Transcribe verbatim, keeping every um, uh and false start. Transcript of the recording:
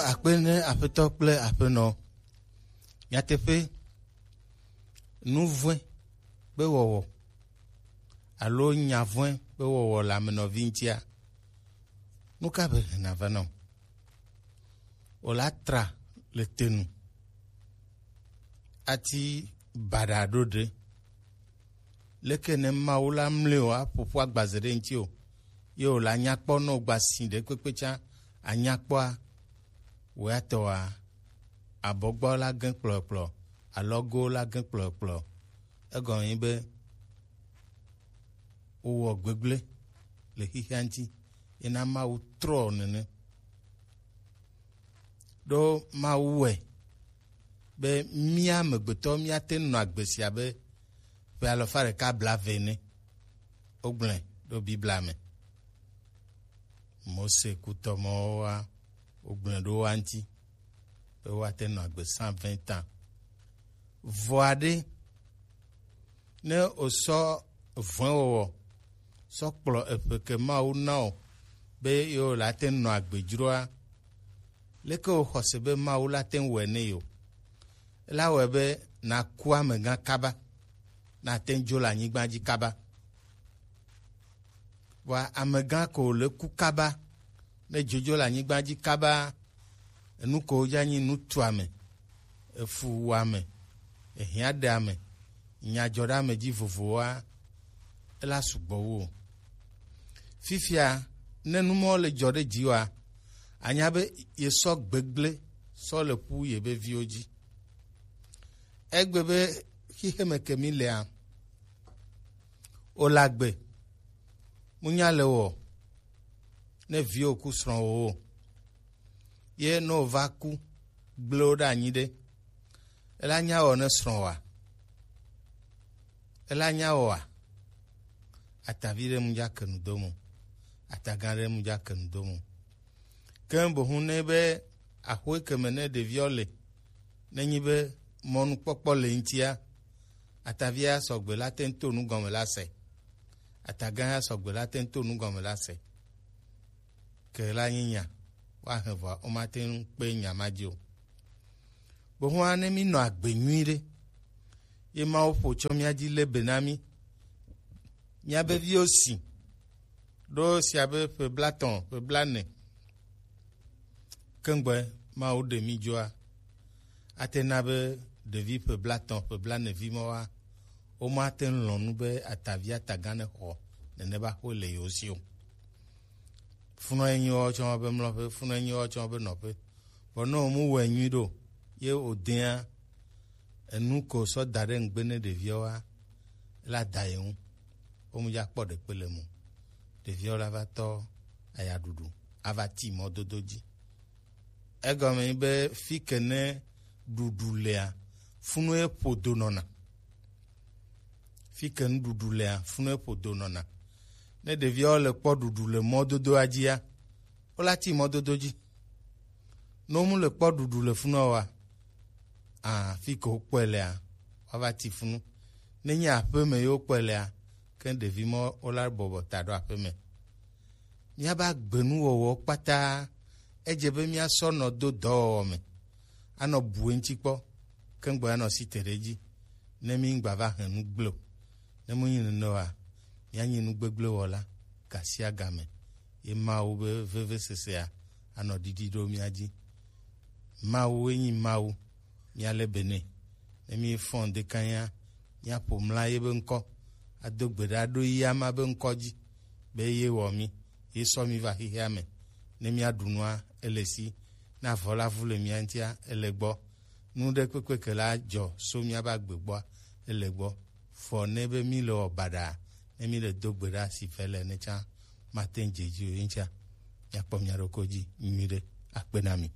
Akpe ne Aƒetɔ kple aƒenɔ. Nyateƒe, nu vɔ̃e be wɔwɔ alo nya vɔ̃e be wɔwɔ le ame nɔvi ŋutia, nu ka be hena vana o? Wòla tra le te nu ati baɖa ɖo ɖe. Leke ne Mawu la mli o aƒo ƒu agbaze ɖe ŋuti o, ye wòla nya kpɔ ne wògba si ɖe kpekpe tsã anya kpɔa, wò ya tɔa, abɔgbɔ la gẽ kplɔkplɔ, alɔgo la gẽ kplɔkplɔ. Egɔme nyi be wowɔ gbegblẽ le xexea ŋuti, ye na Mawu trɔ nene. Ɖo Mawu wɔe be mía amegbetɔ míate ŋu nɔ agbe sia be ƒe alafa ɖeka blaeve ene. Wogblɔe ɖo Biblia me. Mose kutɔ mɔwoa, wogblɔe ɖo woa ŋuti be woate ŋu nɔ agbe cent vingt ans. Vɔ aɖe, ne wòsɔ vɔ̃ewɔwɔ sɔ kplɔ eƒe ke Mawu na wò be yewò la te ŋu nɔ agbe dzroa, leke wòxɔ se be Mawu la te ŋu wɔe ne yewo? Ela wɔe be nàku amegã kaba, nàte ŋu dzo le anyigba dzi kaba. Vɔa amegã ko wòle ku kaba, ne dzodzo le anyigba dzi kaba, enu ko wodza nyi nutuame, efuwuame, ehiãɖeame, nyadzɔɖeame dzi vovowoa, ela sugbɔ wu o. Fifia, ne nu mawo le dzɔ ɖe dziwòa, anya be yesɔ gbegblẽ sɔ le ƒu yebe viwo dzi. Egbe be xixeme ke mí lea, wòle agbe, munya le wɔ ne viwò ku srɔ̃wòwo. Ye ne wòva ku gblẽ wo ɖe anyi ɖe, ela nya wɔ ne srɔ̃wòa? Ela nya wɔa? Atavi ɖe mu dza ke nu do mo, atagã ɖe mu dza ke nu do mo. Ke bohu ne be axoe ke me ne ɖeviwo le, nenyi be mɔnukpɔkpɔ le ŋutia, atavia sɔgbe la te ŋu to nu gɔme la se. Atagã ya sɔgbe la te ŋu to nu gɔme la se. Ke la nyi nya, woahe vɔa, womate ŋu kpe nya ma dzi o. Bohua ne mí nɔ agbe nyui ɖe, ye Mawu ƒo tsɔ mía dzi lé be na mí. Mía be viwo si ɖo sia be ƒe blatɔ̃, ƒe blane. Kengbe Mawu ɖe mí dzoa, ate na be ɖevi ƒe blatɔ̃, ƒe blane vi mawoa, womate ŋu lɔ̃ nu be atavi atagã ne xɔ nene ba xo le yewo si o. Funɔ enyi woawo tsɔ be mlɔƒe, funɔ enyi woawo tsɔ be nɔƒe. Vɔ ne wòmu wɔe nyui ɖo, ye wòdea enu ko sɔ da ɖe ŋgbe ne ɖeviawoa, la da ye ŋu. Womu dza kpɔ ɖekpe le mo. Ɖeviawo la va tɔ ayaɖuɖu, ava ti mɔdodo dzi. Egɔme nyi be fi ke ne ɖuɖu lea, funu ye ƒodo nɔna. Fi ke nuɖuɖu lea, funu ye ƒodo nɔna. Ne ɖeviawo le kpɔ ɖuɖu le mɔdodoa dzia, wola ti mɔdodo dzi. Ne womu le kpɔ ɖuɖu le funua oa, a, fi ke wokpɔe lea, woava ti funu. Nenye aƒeme ye wokpɔe lea, ke ɖevi ma wola bɔbɔ ta ɖo aƒeme. Míabe agbenuwɔwɔ kpata, edze be míasɔ nɔ do dɔwɔwɔ me, anɔ bu eŋuti kpɔ, ke ŋgbe anɔ si te ɖe edzi, ne mí ŋgba va he nu gblẽ o. Ne menyi nene oa, míanyi nu gbegblẽ wɔla gasiagame, ye Mawu be vevesesea anɔ ɖiɖi ɖo mía dzi. Mawu ye nyi Mawu, míale be nɛ. Ne mífɔ ŋdekanya, míaƒo mla ye be ŋkɔ, ado gbe ɖa ɖo ya ma be ŋkɔ dzi, be ye wɔ mí, ye sɔ mí va xexea me. Ne míaɖu nua, ele si. Ne avɔ la vu le mía ŋutia, ele gbɔ. Nu ɖe kpekpe ke la dzɔ so míabe agbe gbɔa, ele gbɔ. Vɔ ne be mí le wɔ baɖa, ne mí le do gbe ɖa si ve le ne tsã, mate ŋu dze dzi o, ye ŋutia, míakpɔ mía ɖokui dzi nyuiɖe. Akpe na mi.